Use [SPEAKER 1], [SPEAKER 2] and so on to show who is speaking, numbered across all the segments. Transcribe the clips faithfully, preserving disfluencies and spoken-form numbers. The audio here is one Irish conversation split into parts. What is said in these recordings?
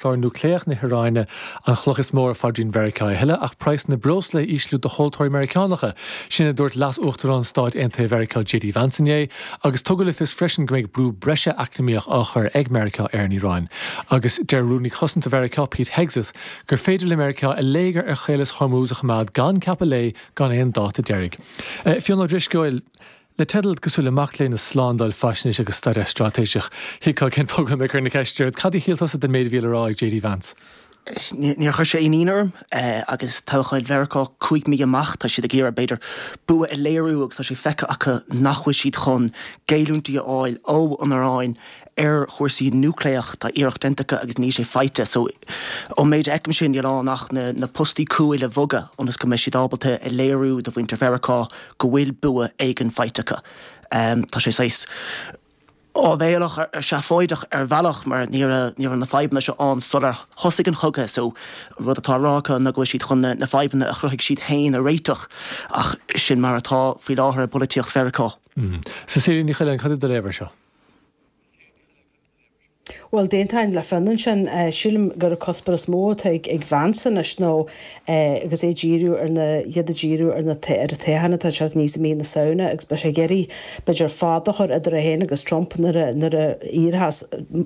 [SPEAKER 1] clár núicléach na hIaráine an chloch is mó ar phaidrín Mheiriceá a thuilleadh ach praghas na breosla a ísliú do thomhaltóirí Meiriceánacha. Sin a dúirt Leas-Uachtarán Stáit Aontaithe Mheiriceá J.D. Vance inné, agus tugadh le fios freisin go mbeidh brú breise eacnamaíoch á chur ag Meiriceá ar an Iaráin. Agus deir Rúnaí Cosanta Mheiriceá Pete Hegseth gur féidir le Meiriceá a léigear ar Chaolas Hormuz a choimeád gan ceapadh léi gan aon dáta deiridh. Eh, Fionn Ó Drisceoil, Le teideal cosúil le mac léinn i slándáil faisnéise agus staidéar straitéiseach thuigfeá cén fáth go mbeadh na ceist cad a shíl tusa den méid a bhí le rá ag JD Vance.
[SPEAKER 2] Níor chuir sé aon ionadh orm agus toghchán Mheiriceá cúig mí amach tá siad ag iarraidh b'fhéidir bua a léiriú agus tá sé feicthe acu nach bhfuil siad chun géilliúintí a fháil ó an Iaráin ar chúrsaí núicléach tá iarracht déanta acu agus níl sé faighte so ón méid a fheicim sin níl ann ach na, na postaí cúil a bhogadh ionas go mbeidh siad ábalta a léiriú do mhuintir Mheiriceá go bhfuil bua éigin faighte acu. Um, tá sé saghas áibhéalach ar seafóideach ar bhealach mar ní ní na fadhbanna seo ann sular thosaigh an cogadh so rud atá á rá acu ná go bhfuil siad chun na, na fadhbanna a chruthaigh siad féin a réiteach ach sin mar atá faoi láthair i bpolaitíocht Mheiriceá.
[SPEAKER 1] Mm. Cecilia Ní Choileáin cad é do léamh air seo.
[SPEAKER 3] Well d'aontóinn le Fionn sin sílim gur cuspóir is mó ag ag Vance anois nó agus é díriú ar na iad díriú ar na ar toghchán atá sé níos mí na Samhna agus beidh sé ag iarraidh b'fhéidir fad a chur idir é féin agus Trump nuair nuair a éireos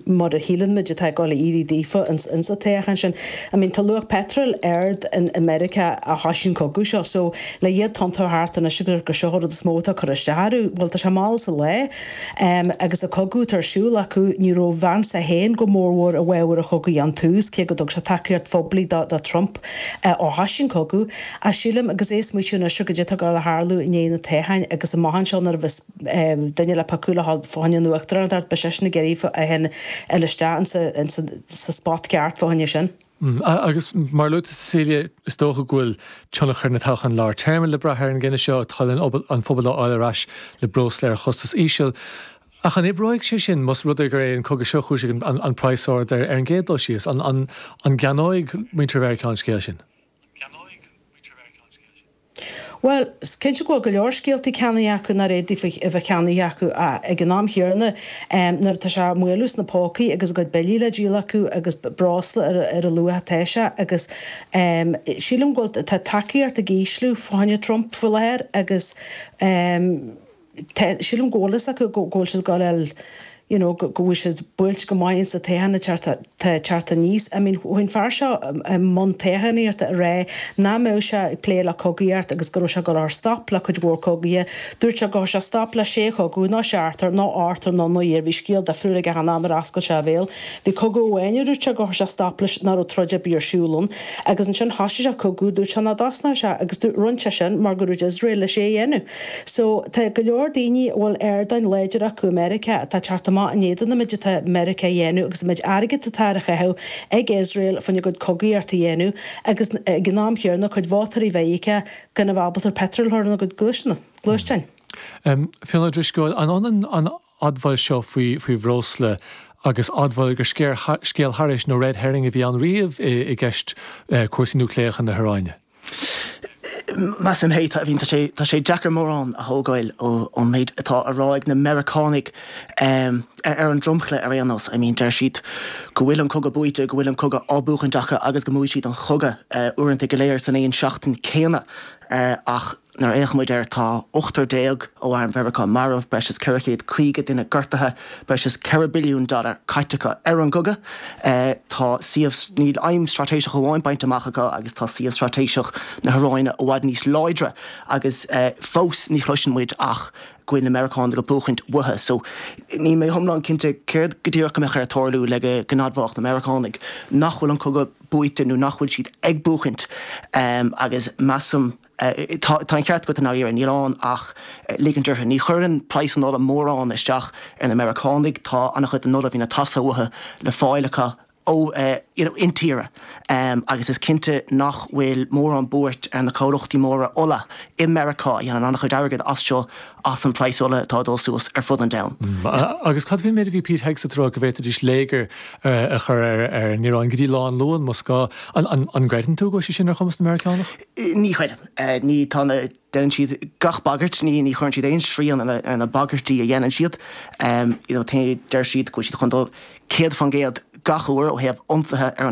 [SPEAKER 3] mar a shíleann muid atá ag dul éirí daofa insa toghchán sin. I mean tá luach petrol ard in America ó thosaigh an cogadh seo so le iad tontú thart anois gur go seo rud is mó atá cur isteach bhfuil tá sé mall sa lé um, agus a cogadh ar siúl acu ní raibh Vance féin go mórmhór i bhfabhar an chogaidh ón tús cé go dtug sé tacaíocht phoiblí do, do Trump uh, ó thosaigh an cogadh a sílim agus é smaoitiú anois go dtá go le tharlú i ndiaidh na toghcháin agus amach anseo nuair a bheas duine le pacú le fá choinne an uachtarán ba sé na géirí a hen isteach sa spot ceart fá choinne sin.
[SPEAKER 1] Mm, agus mar luaite Cecilia is dócha go bhfuil tionchar na toghchán lár téarma le brath ar an gcinneadh seo tá an phobal á fháil ar ais le breosla ar chostas íseal. Ach an oibreoidh sé sin más rud é gur é an cogadh seo chúis an, an, an praghas ard ar, ar an gcéad dul síos an, an, an gceannóidh muintir Mheiriceá an scéal sin.
[SPEAKER 3] Well, cinnte go go leor scéaltaí ceannaithe acu nach fhéadfaí a bheith ceannaithe acu ag an am chéanna nuair atá sé maolú sna pócaí agus a gcuid billí le díol acu agus breosla ar, ar a luach atá sé agus um, sílim go tá tacaíocht ag ísliú fá choinne Trump faoi láthair agus um, sílim go bhfuil acu go bhfuil siad go you know, go bhfuil siad buailte go maith sa toghchán teacht aníos. I mean chuaigh an fear seo mbun toghchánaíochta a rá nach mbeadh sé ag plé le cogaíocht agus go raibh sé ag cur stop le cuid mhór cogaithe. Dúirt sé go sé stop le sé chogadh ná seachtar ná ochtar ná nó bhí scéal difriúil aige an am ar oscail sé a bhéal. Bhí cogadh amháin dúirt sé go sé stop leis nach raibh troid ar bith ar siúl ann, agus ansin thosaigh sé cogadh dúirt sé nach dtosnódh sé agus rinne sé sin mar go raibh Israel leis é a dhéanamh. So tá go leor daoine bhfuil ardáin láidir acu America atá teacht amach in éadan an méid atá Meiriceá a dhéanamh agus an méid airgead atá á chaitheamh ag Israel fá choinne a gcuid cogaíocht a dhéanamh agus ag an am chéanna cuid vótóirí Mheiriceá gan a bheith ábalta petrol a chur ina gcuid gluaisteáin.
[SPEAKER 1] Um, Fionn Ó Drisceoil an an an admháil seo faoi faoi bhreosla agus admháil gur scéal thairis nó red herring a bhí ann riamh i, i gceist uh, cúrsaí núicléacha na hIaráine.
[SPEAKER 2] Measaim hé bhín tá sé tá sé deacair mórán a thógáil ón méid atá á rá ag na Meiriceánaigh um, ar, ar an dromchla ar aon nós. I mean deir siad go bhfuil an cogadh buaite go bhfuil an cogadh á bhuachaint acu agus go mbuafaidh siad an cogadh uh, uaireanta go léir san aon seachtain céanna uh, ach nuair a fhéachaimid air tá ochtar déag ó arm Mheiriceá marbh breis is ceithre chéad caoga duine gortaithe breis is ceithre billiún dollar caite acu ar an gcogadh. Uh, tá suíomh níl aidhm straitéiseach amháin bainte amach acu agus tá suíomh straitéiseach na hIaráine i bhfad níos láidre agus uh, fós ní chloiseann muid ach go bhfuil na Meiriceánaigh ag buachaint uathu, so níl mé iomlán cinnte céard go díreach go mbeadh ar tarlú le go n-admhódh na Meiriceánaigh nach bhfuil an cogadh buaite nó nach bhfuil siad ag buachaint um, agus measaim Tá an ceart agat ar níl ann ach ligint orthu. Ní chuireann praghas an ola mórán isteach ar na Meiriceánaigh tá an-chuid den ola bhí na tasa uathu le fáil acu ó uh, you know, intíre um, agus is cinnte nach bhfuil mórán buairt ar na comhlachtaí móra ola i Meiriceá a dhéanann an-chuid airgid as seo as an praghas ola atá ag dul suas ar fud an domhain.
[SPEAKER 1] Mm, agus cad faoin méid a bhí Pete Hegseth ag rá go bhféadfaidís léigear uh, a chur ar ar an Iaráin go dtí lá an Luain más gá an, an, an gcreideann tú go sé sin ar chumas na Meiriceánach?
[SPEAKER 2] Ní chreidim uh, ní tá na déanann siad gach bagairt ní ní chuireann siad aon srian ar na bagairtí a dhéanann siad um, you know, deir siad go siad chun dul céad faoin gcéad gach uair ó thaobh ionsaithe ar an